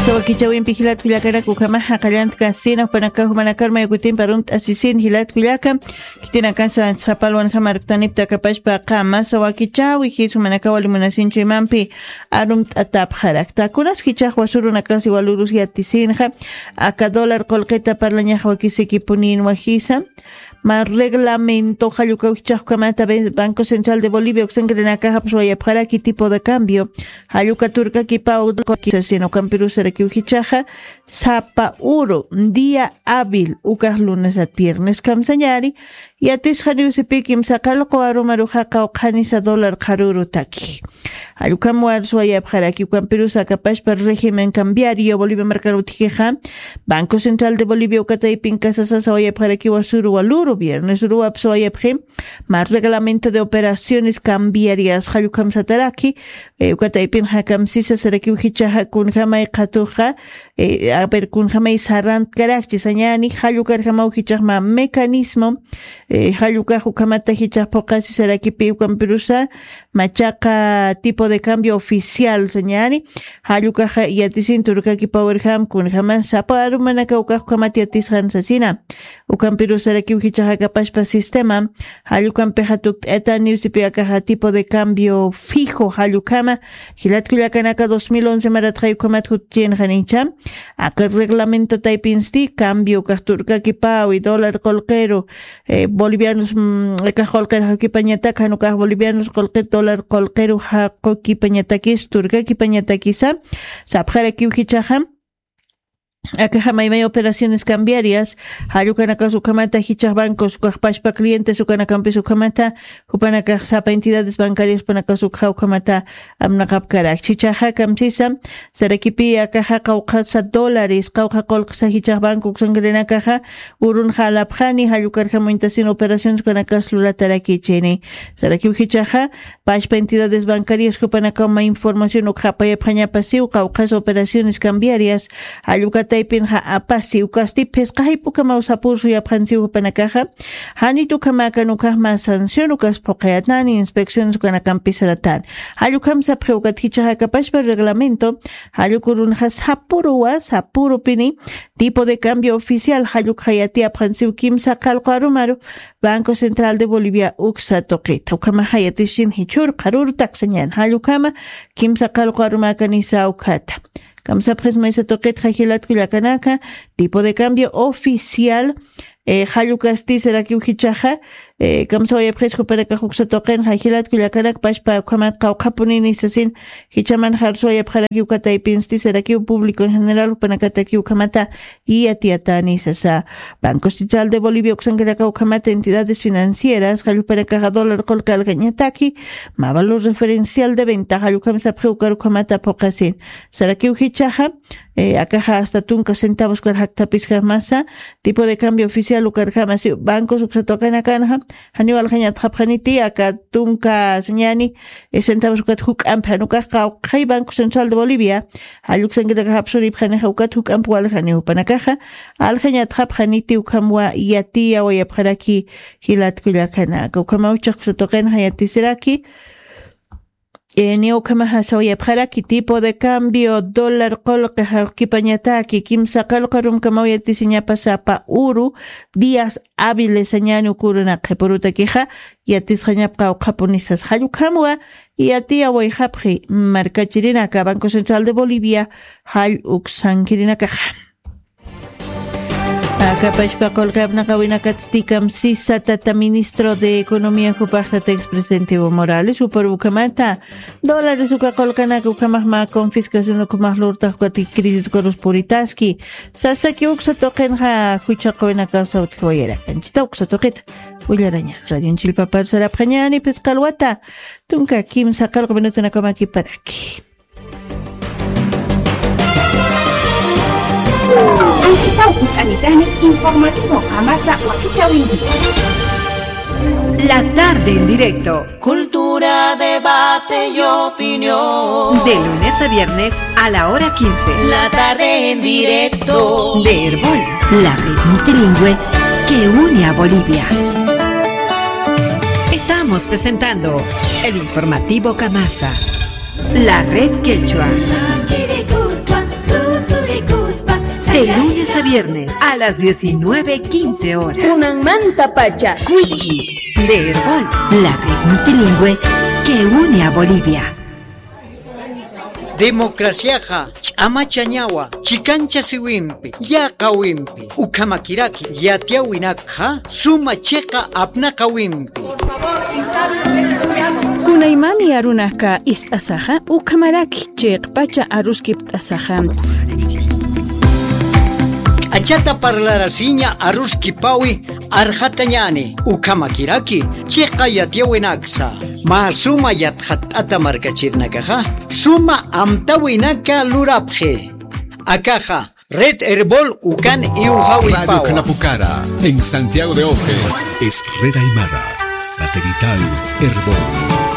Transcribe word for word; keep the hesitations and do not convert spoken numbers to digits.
Sawakichawimpi jilat kullakarak ukhamaxa qallantka sina jupanakaw jumanakar mayukutimpi arumt'asisin jilat kullaka. Khitinakasa sapalwan jamarktanipta akapashpa qama sawakichawi jis jumanakaw alimunasinchu imampi arumt'atapxarakta kunas jichax wasurunakasi walurus yatisinxa. Aka dólar qulqita parlañax wakisikipunin wajisa. Ma reglamento jallukaw jichaxkamata banco central de bolivia uksankirinakaxapis wayapxaraki tipo de cambio. Jalluka turkakipaw sasina ukampirusarakiw jichaxa sapa uru día hábil ukax lunesat viernes kamsañari. Yatisxaniw sipï kimsa qallqu arumaruxa qawqhanisa dólar qharürutaki. Jallukam warus wayapxaraki ukampirus akapashpa régimen cambiario bolivia markar utjixa. Banco central de bolivia ukataypin kasasasa wayapxaraki wasuru waluru viernes uruwapsa wayapxi. Mar reglamento de operaciones cambiarias jallukam sataraki. Ukataypin jakamsisa sarakiw jichaxa kunjamay qhatuxa. Aver kunjamay sarantkarakchi sañani jallukarjamaw jichaxma mecanismo. Jallukax ukhamata jichax phuqasi sarakipi ukampirusa machaqa tipo de cambio oficial sañani. Jallukaxa yatisin turkakipawarjam kunjama sapa arumanaka ukax ukhamata yatisqan sasina. Ukampirusarakiw jichaxakapashpa sistema jallukampixa tukt'ayataniw sipi akaxa tipo de cambio fijo jallukama. Jilatkullakanaka dos mil once maratxay ukhamat jutchinxanicha. Aka reglamento taypinsti cambio ukax turkakipawi dólar qulqiru bolivianos. Ukax qulqir jawkipañatak jan ukax bolivianos qulqir dólar qulqiru jaqukipañatakis turkakipañatakisa. Sapxarakiw jichaxa akaxa maymay operaciones cambiarias. Jallukanakas ukhamata jichax bancos ukaxpashpa clientes ukanakampis ukhamata jupanakax sapa entidades bancarias jupanakas ukxa ukhamata amnaqapkarak chichaxa kamsisa. Sarakipi akaxa qawqhasa dólares qawqha qulqsa jichax banco uksankirinakaxa urunxa alapxani jallukarjam wintasin operaciones ukanakas lulatarakichini. Sarakiw jichaxa pashpa entidades bancarias jupanakaw ma información ukxapayapxañapasiw qawqhasa operaciones cambiarias. Jallukataypinxa apasiw kasti phisqaxaypukamaw sapur suyapxansiw jupanakaxa. Janit ukhamakan ukaxma sanción ukas phuqayatani inspecciones ukanakampisaratani. Jallukam sapxi ukat jichaxakapashpa reglamento jallukurunxa sapuruwa sapurupini tipo de cambio oficial jallukxayatiyapxansiw kimsa qallqu arumaru. Banco central de bolivia uksa tuqita ukhamaxayatisin jichhur qharur taksañan jallukama kimsa qallqu arumakanisa ukhata. Kamsapxis maysa tuqitxa jilatkullakanaka tipo de cambio oficial. Jallukasti sarakiw jichaxa kamsawayapxis jupanakax uksa tuqinxa jilatkullakanak pashpa ukhamat qawqhapunini sasin. Jichaman jarsuwayapxarakiw kataypinsti sarakiw público en general jupanakatakiw ukhamata yatiyatani sasa. Banco central de bolivia uksankarakaw ukhamata entidades financieras jallupanakaxa dólar qulqi aljañataki ma valor referencial de venta jallukam sapxi ukar ukhamata phuqasin. Sarakiw jichaxa akaxa hasta tunka centavos kar jaktapiskamasa tipo de cambio oficial ukarjamasi bancos uksa tuqinakanxa. Janiw aljañatxapxaniti aka tunka sañani centavos ukat juk'ampi jan ukax qawqhay banco central de bolivia. Jalluksankirakxa japsuripxanixa ukat juk'ampi waljani jupanakaxa aljañatxapxaniti ukhamwa yatiyawayapxaraki. Jilatkullakanaka ukhamaw chaqsa tuqinxa yatisiraki. Ni ukhamaxa sawayapxaraki tipo de cambio dólar qulqi jawkipañataki kimsa qallqu arumkamaw yatisiñapa sapa uru días hábiles sañani ukurunaq qhipurutakixa. Yatisxañap qawqhapunisas jallukhamwa yatiyawayxapxi. Markachirinaka banco central de bolivia jall uksankirinakaxa. Akapashpa qulqi apnaqawinakatsti kamsisa tata ministro de economía jupax tata expresidente evo morales jupar ukhamata dólares uka qulqanaka ukhamax mä confiscación ukhamax lurtax ukati crisis ukarus puritaski. Sasaki uksa tuqinxa juchaqawinakaw sawtjiwayarakanchita uksa tuqita willaraña. Radion chillpaparu sarapxañani phisqa alwata tunka kimsa qallqu minutunakamakiparaki. Anchitaw kut'anitani informativo qamasa wakichawinki. La tarde en directo. Cultura, debate y opinión. De lunes a viernes a la hora quince. La tarde en directo. De Erbol, la red multilingüe que une a Bolivia. Estamos presentando el informativo Kamasa. La red quechua. Viernes a las diecinueve quince horas. Kunanmantapacha. Cuichi de Erbol, la red multilingüe que une a Bolivia. Democraciaxa ch'amachañawa, chikanchasiwimpi, yaqawimpi, ukhamakiraki yatiyawinakxa suma chiqa apnaqawimpi. Kunaymani arunaka ist'asaxa, ukhamaraki chiqpacha aruskipt'asaxa. K'achata parlarasiña aruskipawi arxatañani, ukhamakiraki chiqa yatiyawinaksa. Mä suma yatxatt'ata markachirinakaxa, suma amtawinaka lurapxi. Akaxa, Red Erbol ukan iwxawipawa. Radio Knapucara, en Santiago de Oje. Es Red Aymara, satelital Erbol.